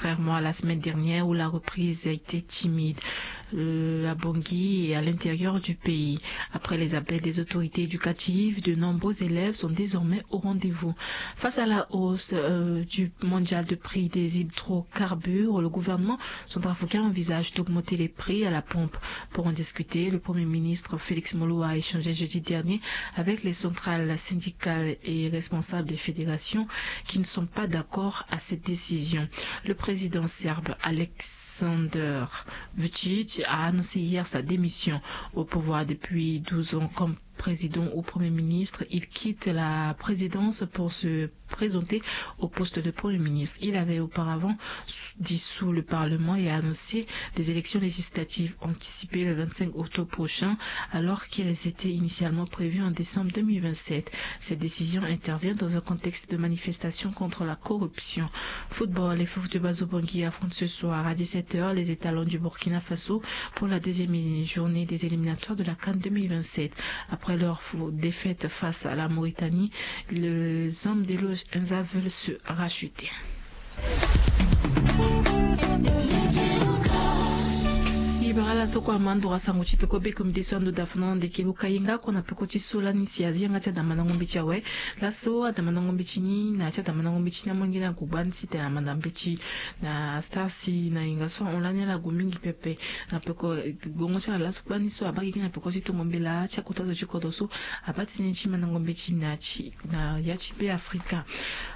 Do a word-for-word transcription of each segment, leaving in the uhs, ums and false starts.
contrairement à la semaine dernière où la reprise a été timide, euh, à Bangui et à l'intérieur du pays. Après les appels des autorités éducatives, de nombreux élèves sont désormais au rendez-vous. Face à la hausse, euh, du mondial de prix des hydrocarbures, le gouvernement centrafricain envisage d'augmenter les prix à la pompe. Pour en discuter, le Premier ministre Félix Moloua a échangé jeudi dernier avec les centrales syndicales et responsables des fédérations qui ne sont pas d'accord à cette décision. Le président serbe Aleksandar Vučić a annoncé hier sa démission. Au pouvoir depuis douze ans comme président ou premier ministre, il quitte la présidence pour se présenter au poste de premier ministre. Il avait auparavant s-, dissous le Parlement et annoncé des élections législatives anticipées le vingt-cinq octobre prochain, alors qu'elles étaient initialement prévues en décembre deux mille vingt-sept. Cette décision intervient dans un contexte de manifestation contre la corruption. Football, les Fofo du Bazo Bangui affrontent ce soir à dix-sept heures les étalons du Burkina Faso pour la deuxième journée des éliminatoires de la CAN deux mille vingt-sept. Après leur fo-, défaite face à la Mauritanie, les hommes de l'O G Enza veulent se racheter. Ibara la so kue amandora sango ti peko be komite so ando da fana na ndeke luka yenga kue na peko ti so lani si azi yanga ti adamandango mbeti awe. Laso adamandango mbeti ni na ya ti adamandango mbeti ni amolenge na gugba ni si tene amanda mbeti na star si na yenga so ahon lani ala gu mingi pepe. Na peko, eh, gongo ti ala laso kpani so abaa gigi na peko ti tongo mbela ti akota zo ti kodro so abaa tënë ti mandango mbeti na ya ti, na ya ti Be Afrika.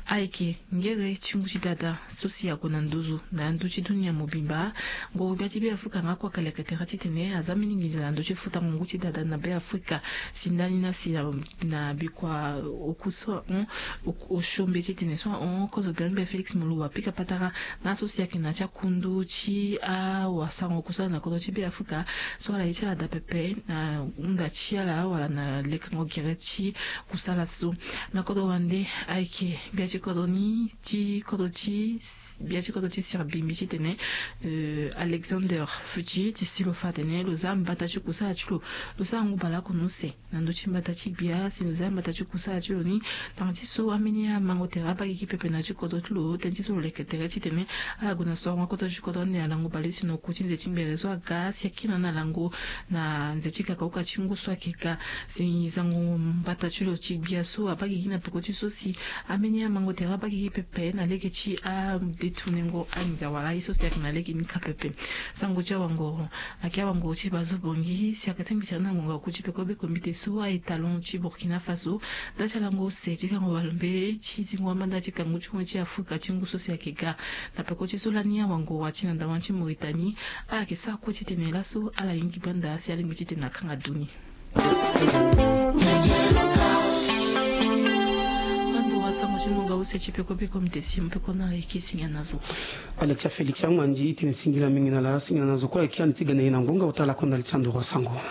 Ayeke ngere ti ngu ti dada so si ague na nduzu na ndö ti dunia mobimba. Ngoro-gbia ti Be Afrika nga kue ayeke leke tere titene aza mbeni nginza na ndö ti futango ngu ti dada na Be Afrika. Si ndani na si na, na bikua oku so ahon, oku, osio mbeti titene so ahon, kozo gbia ni be Félix Moloua apika patara na so si ayeke na ya ti akundu ti awasango kusala na kodro ti Be Afrika so ala ye ti ala daa pepe na hunda ti ala wala na lekango gere ti kusala so. Na kodro wande ayeke gbia ti kodro ni ti kodro ti, gbia ti kodro ti Serbie mbi titene, euh, Alexander Vučić si lo fa atene lo za mbata ti kusala ti lo, lo sara ngu baleoko na use na ndö ti mbata ti gbia si lo za mbata ti kusala ti lo ni. Tënë ti so ambeni amango tere abaa gigi pepe na ya ti kodro ti lo, tënë ti so lo leke tere titene ala gue na sorongo akodro ti kodro ande na lango baleuse na oku ti nze ti ngbere so aga si akiri na lango na nze ti kakaoka ti ngu so ayeke ga. Si zango mbata ti lo ti gbia so abaa gigi na peko ti so si ambeni amango tere abaa gigi pepe na lege ti adetournengo anginza wala aye so si ayeke na lege ni kâ pepe. Sango ti awangoro ayeke awangoro ti Bazo Bangui si ayeke tingbi tene na ngonga oku ti peko be komite so aye talon ti Burkina Faso daa ti alango use ti gango walombe ti zingo amanda ti kangu ti hon ti Afrika ti ngu so si ayeke ga. Na peko ti so lani awangoro ati na ndawa ti Mauritanie, ala yeke sara kue titene laso ala yingi banda si alingbi titene akanga du ni. Ando wa sango ti nonga use ti peko be komite si mo peko na ala yeke singila na zo kue. Alexia Félix Angmandi, tene singila mingi na ala, singila na zo kue ayeke ande ti gene ye na ngonga ota lakue ndali ti ando wa sango.